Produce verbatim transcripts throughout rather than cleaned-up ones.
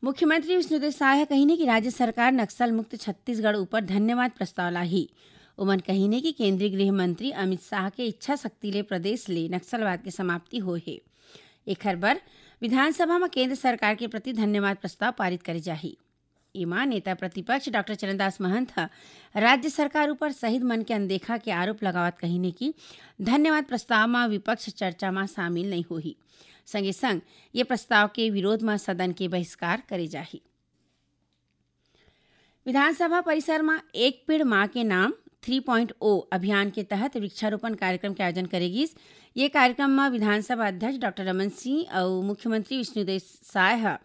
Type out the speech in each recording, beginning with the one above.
मुख्यमंत्री विष्णुदेव साय ह कहिन हे कि राज्य सरकार नक्सल मुक्त छत्तीसगढ़ ऊपर धन्यवाद प्रस्ताव लाही। ओमन कहिन हे कि केंद्रीय गृह मंत्री अमित शाह के इच्छा शक्ति ले प्रदेश ले नक्सलवाद के समाप्ति होए हे। एखर बर विधानसभा म केंद्र सरकार के प्रति धन्यवाद प्रस्ताव पारित करे जाही। एमा नेता प्रतिपक्ष डॉक्टर चरणदास महंत ह राज्य सरकार ऊपर शहीद मन के अनदेखा के आरोप लगावत कहिन हे कि धन्यवाद प्रस्ताव म विपक्ष चर्चा म शामिल नइ होही। संगे संग ये प्रस्ताव के विरोध म सदन के बहिष्कार करे जाही। विधानसभा परिसर म एक पेड़ मां के नाम थ्री पॉइंट ओ अभियान के तहत वृक्षारोपण कार्यक्रम के आयोजन करे गिस। ये कार्यक्रम म विधानसभा अध्यक्ष डॉक्टर रमन सिंह अउ मुख्यमंत्री विष्णुदेव साय ह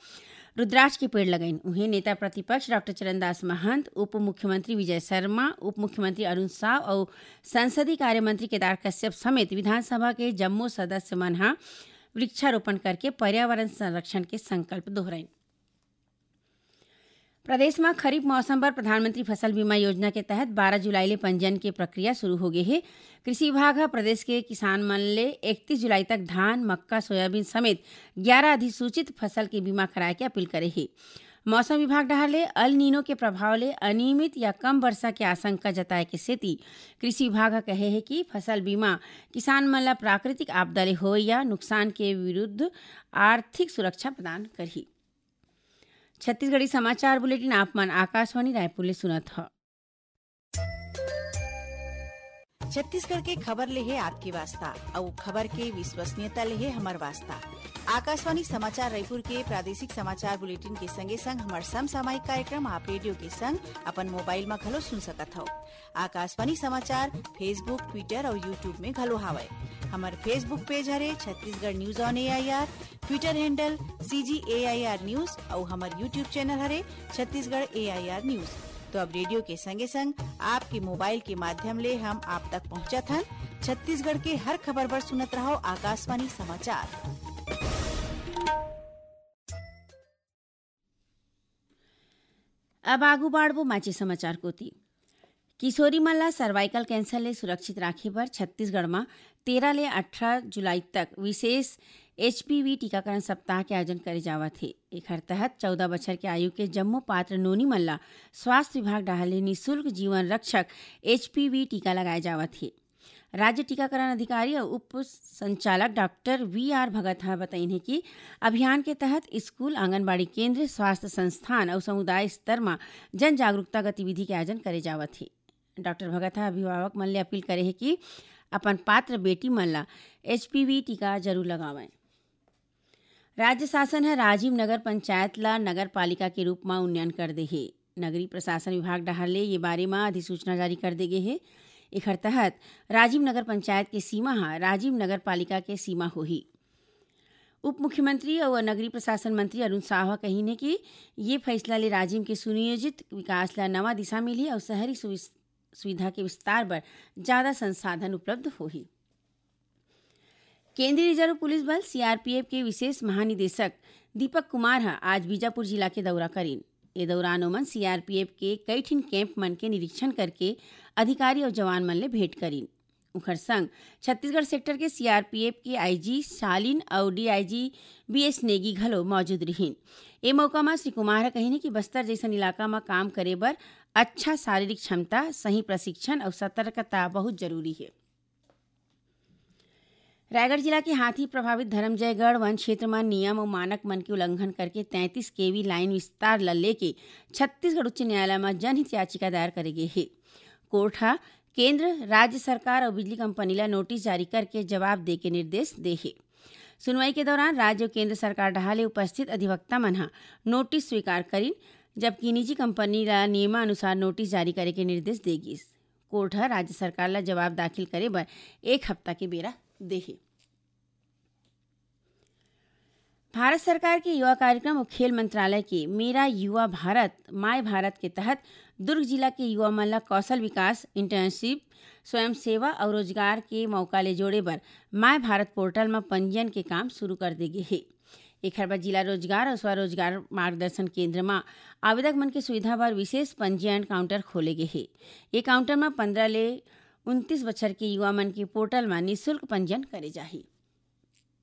रुद्राक्ष के पेड़ लगाइन। उहें, नेता प्रतिपक्ष डॉक्टर चरणदास महंत, उप मुख्यमंत्री विजय शर्मा, उप मुख्यमंत्री अरुण साव अउ संसदीय कार्य मंत्री केदार कश्यप समेत विधानसभा के जम्मो सदस्य मन ह वृक्षारोपण करके पर्यावरण संरक्षण के संकल्प दोहराइन। प्रदेश म खरीफ मौसम बर प्रधानमंत्री फसल बीमा योजना के तहत बारह जुलाई ले पंजीयन के प्रक्रिया शुरू हो गे हे। कृषि विभाग ह प्रदेश के किसान मन ले इकतीस जुलाई तक धान, मक्का, सोयाबीन समेत ग्यारह अधिसूचित फसल के बीमा कराए के अपील करे हे। मौसम विभाग डहार ले अल नीनो के प्रभाव ले अनियमित या कम वर्षा के आशंका जताए के सेती कृषि विभाग ह कहे हे कि फसल बीमा किसान मन ल प्राकृतिक आपदा ले होवइया नुकसान के विरुद्ध आर्थिक सुरक्षा प्रदान करही। छत्तीसगढ़ी समाचार बुलेटिन आप मन आकाशवाणी रायपुर ले सुनत ह। छत्तीसगढ़ के खबर ले हे आपके वास्ता, अउ खबर के विश्वसनीयता ले हे हमर वास्ता। आकाशवाणी समाचार रायपुर के प्रादेशिक समाचार बुलेटिन के संगे संग हमर समसामयिक कार्यक्रम आप रेडियो के संग अपन मोबाइल म घलो सुन सकत हव। आकाशवाणी समाचार Facebook, Twitter अउ YouTube में घलो हावय। हमर Facebook पेज हरे Chhattisgarh news on AIR, Twitter handle CG AIR news अउ हमर YouTube चैनल हरे छत्तीसगढ़ एआईआर न्यूज। तो अब रेडियो के संगे संग आपके मोबाइल के माध्यम ले हम आप तक पहुंचत हन। छत्तीसगढ़ के हर खबर बर सुनत रहो आकाशवाणी समाचार। अब आगू बाढ़बो माचे समाचार कोति। किशोरी मन ला सर्वाइकल कैंसर ले सुरक्षित राखे बर छत्तीसगढ़ म तेरह ले अठारह जुलाई तक विशेष एचपीवी टीकाकरण सप्ताह के आयोजन करे जावत हे। एखर तहत चौदह बछर के आयु के जम्मो पात्र नोनी मन ला स्वास्थ्य विभाग डहार ले निशुल्क जीवन रक्षक एचपीवी टीका लगाए जावत हे। राज्य टीकाकरण अधिकारी अउ उप संचालक डॉक्टर वी आर भगत ह बतइन हे कि अभियान के तहत स्कूल, आंगनबाड़ी केंद्र, स्वास्थ्य संस्थान अउ समुदाय स्तर म जन जागरूकता गतिविधि के आयोजन करे जावत हे। डॉक्टर भगत ह अभिभावक मन ले अपील करे हे कि अपन पात्र बेटी मन ला एचपीवी टीका जरूर लगावंय। राज्य शासन ह राजिम नगर पंचायत ला नगर पालिका के रूप म उन्नयन कर दे हे। नगरीय प्रशासन विभाग डहार ले ये बारे म अधिसूचना जारी कर दे गे हे। एखर तहत राजिम नगर पंचायत के सीमा ह राजिम नगर पालिका के सीमा होही। उप मुख्यमंत्री अउ नगरीय प्रशासन मंत्री अरुण साव ह कहिन हे कि ये फैसला ले राजिम के सुनियोजित विकास ला नवा दिशा मिलही अउ शहरी सुविस-, सुविधा के विस्तार बर जादा संसाधन उपलब्ध होही। केंद्रीय रिजर्व पुलिस बल, सीआरपीएफ, के विशेष महानिदेशक दीपक कुमार ह आज बीजापुर जिला के दौरा करिन। ए दौरान ओमन सीआरपीएफ के कई ठिन कैंप मन के निरीक्षण करके अधिकारी अउ जवान मन ले भेंट करिन। उखर संग छत्तीसगढ़ सेक्टर के सीआरपीएफ के आईजी शालिन अउ डीआईजी बीएस नेगी घलो मौजूद रिहिन। ए मौका म श्री कुमार ह कहिन कि बस्तर जइसन इलाका म काम करे बर अच्छा शारीरिक क्षमता, सही प्रशिक्षण अउ सतर्कता बहुत जरूरी हे। रायगढ़ जिला के हाथी प्रभावित धरमजयगढ़ वन क्षेत्र म नियम अउ मानक मन के उल्लंघन करके तैंतीस केवी लाइन विस्तार ल लेके छत्तीसगढ़ उच्च न्यायालय म जनहित याचिका दायर करे गे हे। कोर्ट ह केंद्र, राज्य सरकार अउ बिजली कंपनी ल नोटिस जारी करके जवाब दे के निर्देश दे हे। सुनवाई के दौरान राज्य अउ केंद्र सरकार डहार ले उपस्थित अधिवक्ता मन ह नोटिस स्वीकार करिन, जबकि निजी कंपनी ल नियमानुसार नोटिस जारी करे के निर्देश दे गिस। कोर्ट ह राज्य सरकार ल जवाब दाखिल करे बर एक हफ्ता के बेरा दे हे। भारत सरकार के युवा कार्यक्रम अउ खेल मंत्रालय के मेरा युवा भारत, माय भारत के तहत दुर्ग जिला के युवा मन ल कौशल विकास, इंटर्नशिप, स्वयं सेवा अउ रोजगार के मौका ले जोड़े बर माय भारत पोर्टल म पंजीयन के काम शुरू कर दे गे हे। एखर बर जिला रोजगार अउ स्वरोजगार मार्गदर्शन केंद्र म आवेदक मन के सुविधा बर विशेष पंजीयन काउंटर खोले गे हे। ये काउंटर म पंद्रह ले उनतीस बछर के युवा मन के पोर्टल म निशुल्क पंजीयन करे जाही।